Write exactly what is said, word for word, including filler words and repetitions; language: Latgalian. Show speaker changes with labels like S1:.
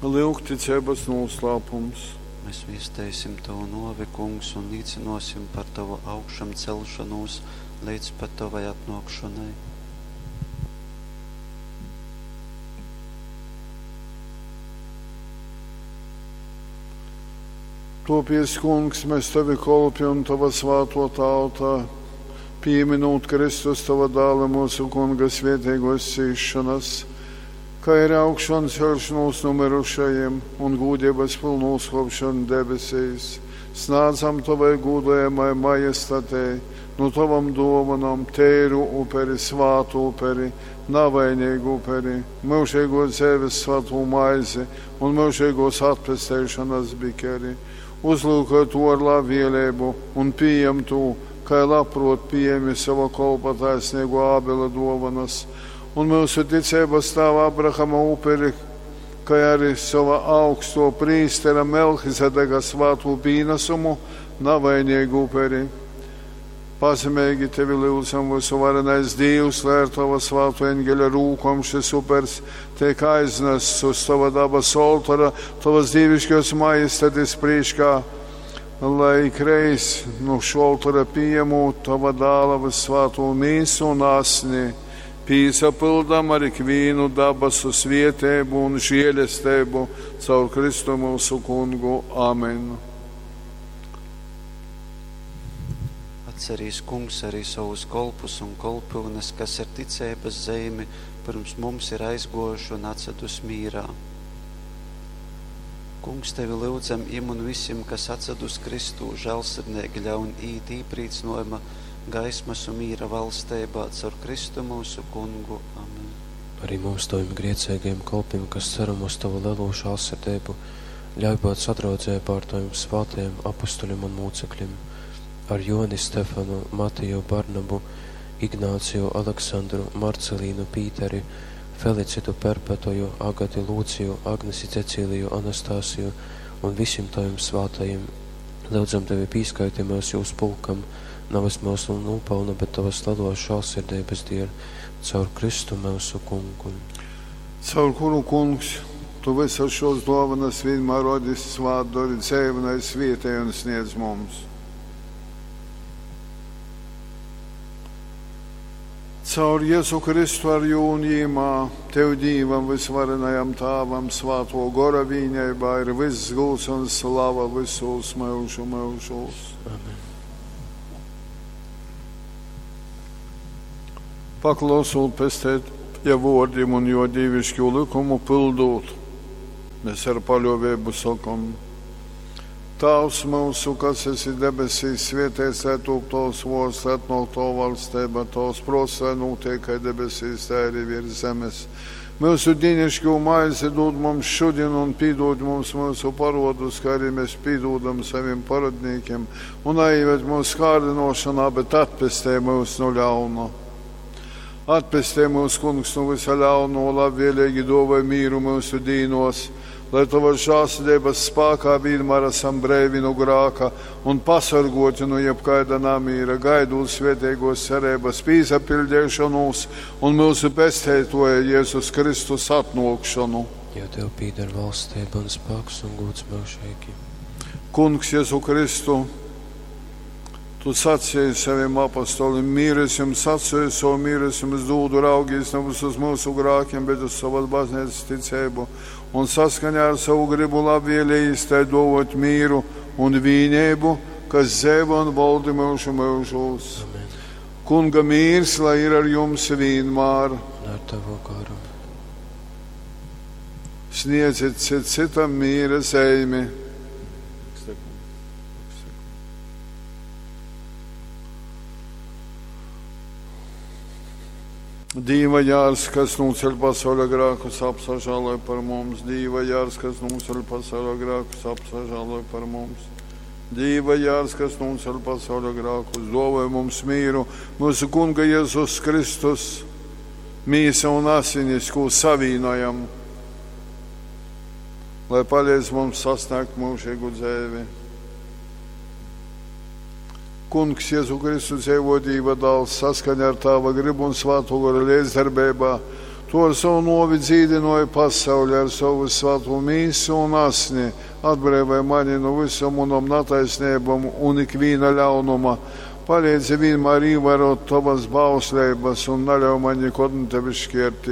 S1: Lyugticeibas nūslāpums.
S2: Mēs viesteisim tovu nōvi, Kungs, un līcynōsim par tovu augšamceļšonūs leidz pat tovai atnōkšonai.
S1: Topies, Kungs, mēs tavi kolpi un tava svāto tauta, pīminūt Kristus tava dāla mūsu Kunga svētīgos cīšanas, kā ir augšanu celšanos no mirušajiem un gūdības pilnu uzkopšanu debesīs, snādzam tavai gūdojamai majestatei, no tavam dovanam tēru uperi, svātu uperi, navainīgu uperi, mūžīgo dzīves svātu maizi un mūžīgos atpesteišanas bikeri. Uzlūkoj to ar labvēlību un pieņem to, kā labprot pieņemi sava kolpa taisnīgo Ābela dovanas, un mūsu ticības tēva Abrahama uperi, kā arī sava augsto prīstera Melhizedeka svāto pīnesumu, navainīgu uperi. Pazemīgi tevi lūdzam, visuvarenais Dievs, lai ar tava svāto eņģeļa rūkom šis upers tiek aiznests uz tava dabas oltora, tavas dievišķos majestatis priekšā, lai ikreiz no šo oltora pieņemot tava dāla visvāto mīsu un asni, pīsapildam ar ikvienu dabasu svietēbu un žēlestību caur Kristu mūsu kungu. Amen.
S2: Atcerīs Kungs arī savus kolpus un kolpyunes, kas ar ticības zeimi pirms mums ir aizgojuši un atsedus mīrā. Kungs, tevi lūdzam im un visiem, kas atsedus Kristū, žēlsirdnieki ļaun īt īprīcnojuma gaismas un mīra valstībā caur Kristu mūsu kungu. Amen.
S3: Arī mums, taviem griecīgajiem kolpiem, kas ceram uz tavu lielo žēlsirdību, ļauj būt sadraudzībā ar taviem svētajiem apustuļiem un mūcekļiem, ar Joni Stefanu, Matiju Barnabu, Ignāciju, Aleksandru, Marcelīnu, Pīteri, Felicitu Perpetoju, Agati Lūciju, Agnesi Cecīliju, Anastasiju un visiem taviem svētajiem. Lūdzam tevi pīskaiti mūs jūs pulkam, nevis mūsu nopelnu, bet tavas lielos žēlsirdības dēļ, caur Kristu mūsu kungu.
S1: Caur kuru, Kungs, tu visas šos dāvanas vienmēr rodis svātdori dzēvnai svietēji un sniedz mums. Caur Jēzu Kristu ar jū un jīmā, Tev Dīvam visvarenajam Tāvam svāto gora vīņaibā ir viss gūs un slava visos mūžu mūžos.
S3: Amen.
S1: Paklausot pestēt ja vārdiem un jo dievišķo likumu pildot, mēs ar paļāvību sakam: Tēvs mūsu, kas esi debesīs, svētīts lai top tavs vārds, lai atnāk tava valstība, tavs prāts, lai notiek kā debesīs, tā arī virs zemes. Mūsu dienišķo maizi dod mums šodien un piedod mums mūsu parodus, kā arī mēs piedodam saviem parodniekiem, un neieved mūsu kārdinošanā, bet atpestē mūs no ļauna. Atpestē mūs, Kungs, no visa ļauno, labvēlīgi dāvāj mīru mūsu dīnos, lai tavas žēlsirdības spēkā vienmēr esam brīvi no grāka un pasargoti no jebkāda namīra, gaidot svētīgos cerības pīsapildīšanos un mūsu pestītoja Jēzus Kristus atnākšanu.
S3: Jo tev pīder valstība un spēks un gods mūžīgi.
S1: Kungs Jēzu Kristu, tu sacīji saviem apostoliem, mīres jums sacīju, savu mīres jums dūdu, raugīs nevis uz mūsu grākiem, bet uz savas baznīcas ticību, un saskaņā ar savu gribu labvēlījis tai dovot mīru un vīnību, kas dzēva un valdi mūžu mūžos.
S3: Amen.
S1: Kunga mīrs, lai ir ar jums vienmēr.
S3: Un ar tavu garu.
S1: Sniedziet cit citam mīra zeimi. Dīva jārs, kas nūceļ pasaules grēkus, apsažāloj par mums. Dīva jārs, kas nūceļ pasaules grēkus, apsažāloj par mums. Dīva jārs, kas nūceļ pasaules grēkus, dāvāj mums mīru. Mūsu Kunga Jēzus Kristus, mīsa un asinis, ko savīnojam, lai palīdz mums sasniegt mūžīgu dzīvi. Kungs Jēzu Kristu dzīvo Dieva dēls saskaņā ar Tava gribu un Svēto Gora līdzdarbībā, Tu ar sovu nōvi dzīdynōji pasauli, ar sovu vyssvātū mīsu un asni atbreivoj mani nu vysom munom nataisneibom un ikvīna ļaunuma. Paleidzi vīnmār īvārōt tovas bausleibas un naļauj maņ nikod nu tevis škērtīs.